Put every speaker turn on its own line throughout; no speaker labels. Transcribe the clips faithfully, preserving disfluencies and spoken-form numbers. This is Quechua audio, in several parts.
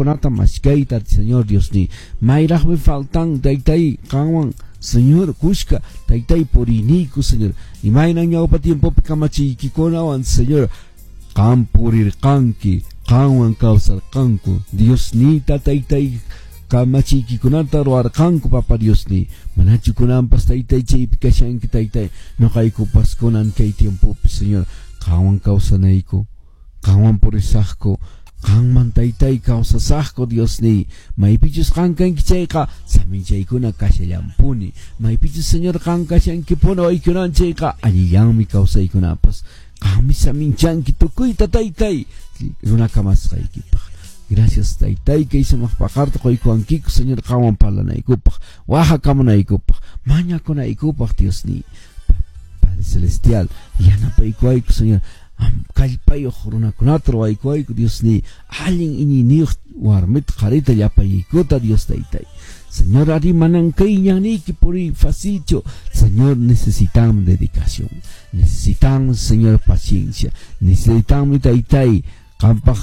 kaqkunata mashkayta, Señor Diosniy. Mayraqmi faltan taytay qanwan, Señor, kushka taytay puriniyku, Señor. Imayna ñawpa tiempopi kamachiykikunawan, Señor, qan purirqanki, qanwan kawsarqanku. Diosniyta taytay kamachiykikunata ruwarqanku, Papa Diosniy. Manachu kunanpas taytay chaypi kashanki taytay, noqaykupas kunan kay tiempopi, Señor, qanwan kawsanayku, qanwan purisaqku, qanman taytay kawsasaqku, Diosniy. Maypichus qan kanki chayqa saminchaykuna kashallampuni. Maypichus, Señor, qan kashankipuni waykunan chayqa allillanmi kawsaykunapas. Qanmi saminchanki tukuyta taytay runa kamasqaykipaq. Gracias taytay kay sumaq paqarta quykuwankiku, Señor, qanwan parlanaykupaq, waqakamunaykupaq, mañakunaykupaq, Diosniy. Padre Celestial, yanapaykuwayku, Señor, kallpayuq runakunata ruwaykuwayku, Diosniy, allin iñiyniyuq warmita qharita llapaykuta, Dios taytay. Señor, ari manan kay ñanniyki puriy facilchu. Señor, necesitamos dedicación, necesitamos, Señor, paciencia, necesitamos taytay qampaq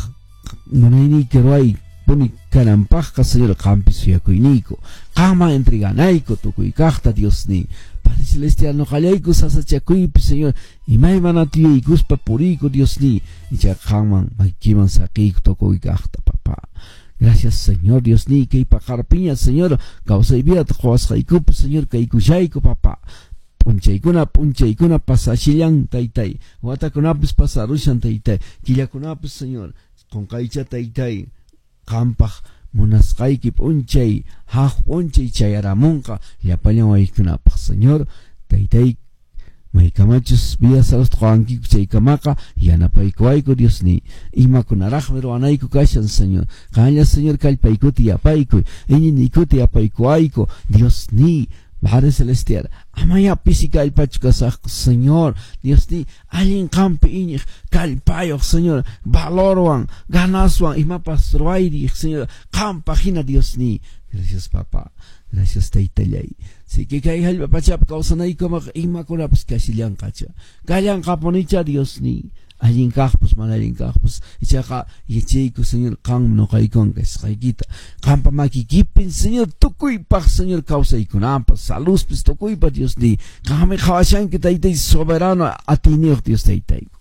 munayniyki ruway puni kananpaqqa, Señor, qampi suyakuyniyku, qanman entreganayku tukuy kaqta, Diosniy. Padre Celestial, noqallayku sasachakuypi, Señor, imaymanata yuyaykuspa puriyku, Diosniy, ichaqa qanman makiman saqiyku tukuy kaqta, papá. Gracias, Señor Diosniy, kay paqarpiña, Señor, kawsay vidata quwasqaykupi, Señor, kaykushayku, papá. P'unchaykuna p'unchaykuna pasashillan taytay, watakunapis pasarushan taytay, killakunapis, Señor, qunqaycha taytay, qampaq munasqayki p'unchay, haq p'unchay chayaramunqa llapallan waykunapaq, Señor, taytay, maykamachus vida saludta quwankiku chaykamaqa yanapaykuwayku, Diosniy. Imakunaraqmi ruwanayku kashan, Señor. Qanlla, Señor, kallpaykuta yapaykuy, iñiniykuta yapaykuwayku, Diosniy. Padre Celestial, amaya pisi kallpachu kasaqku, Señor, Diosniy, allin qampi iñiq kallpayuq, Señor, valorwan, ganaswan imapas ruwayriq, Señor, qampaq hina, Diosniy. Gracias, papá. Gracias, taytallay. Si que kay hallp'a pachapi kawsanaykumaqa imakunapas kashillanqacha. Kallanqapunicha, Diosniy. Allin kaqpas, mana allin kaqpas. Ichaqa yachayku, Señor, qanmi noqaykuwan kasqaykita. Qampa makikipin, Señor, tukuypaq, Señor, kawsaykunapas, saluspis, tukuypaq, Diosniy. Qanmi qhawashanki, taytay, soberano, atiyniyuq Dios taytayku.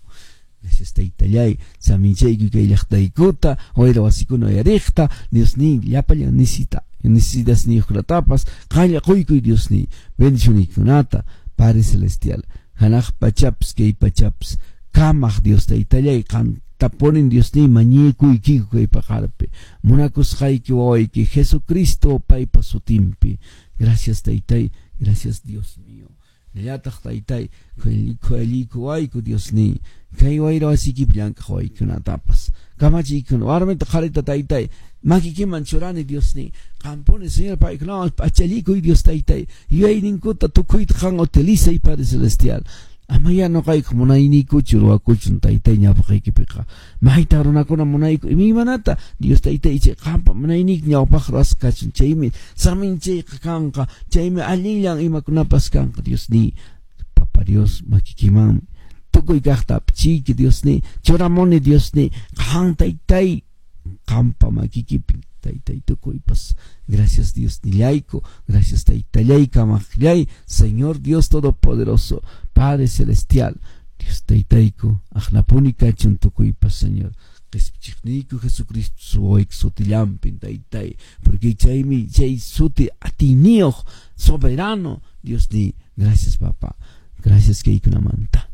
Gracias, taytallay, saminchayku kay llaqtaykuta, wayra wasikuna uyariqta, Diosniy, llapallan necesita, necesidasniyuqkunatapas, qanlla quykuy, Diosniy, bendicioniykunata, Padre Celestial, hanaq pachapas, kay pachapas, kamaq Dios taytallay, qantapunin, Diosniy, mañakuykiku kay paqarpi, munakusqayki wawayki Jesucristo paypa sutinpi. Gracias, taytay, gracias, Dios mío. Llataq taytay, khuyallikuwayku, Diosniy, kay wayra wasiykipi llank'aq waykunatapas, kamachiykuna, warmita qharita taytay, makikiman churani, Diosniy, qampuni, Señor, paykunawan p'achallikuy, Dios taytay, yuyayninkuta tukuyta qan utilizay, Padre Celestial. Amaya noqayku munayniykuchu ruwakuchun taytay ñawpaqaykipiqa. Mayta runakuna munayku imaymanata, Dios taytay, chay qampa munayniyki ñawpaq ruwasqa kachun, chaymi saminchayqa kanqa, chaymi allinllan imakunapas kanqa, Diosniy. Papa Dios, makikimanmi tukuy kaqta apchiyki, Diosniy, churamuni, Diosniy, qan taytay, qampa makikipi taytay tukuypas. Gracias, Dios nillayku, gracias taytallay, kamaqllay, Señor Dios Todopoderoso, Padre Celestial, Dios taytayku, aqnapuni kachun tukuypas, Señor. Qhispichiqniyku Jesucristo suwayki sutillampin taytay, porque chaymi chay suti atiyniyuq soberano, Diosniy. Gracias, papá. Gracias kaykunamanta.